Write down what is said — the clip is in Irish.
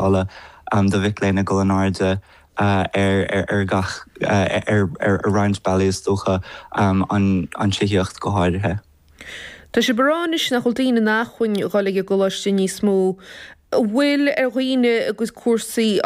Do mhic léinn ag dul in airde ar gach, ar roinnt bealaí is dócha, an tithíocht go háirithe. Tá sibh ag rá anois nach bhfuil daoine in acmhainn dhul ag an gcoláiste níos mó. An bhfuil ar dhaoine a gcuid cúrsaí.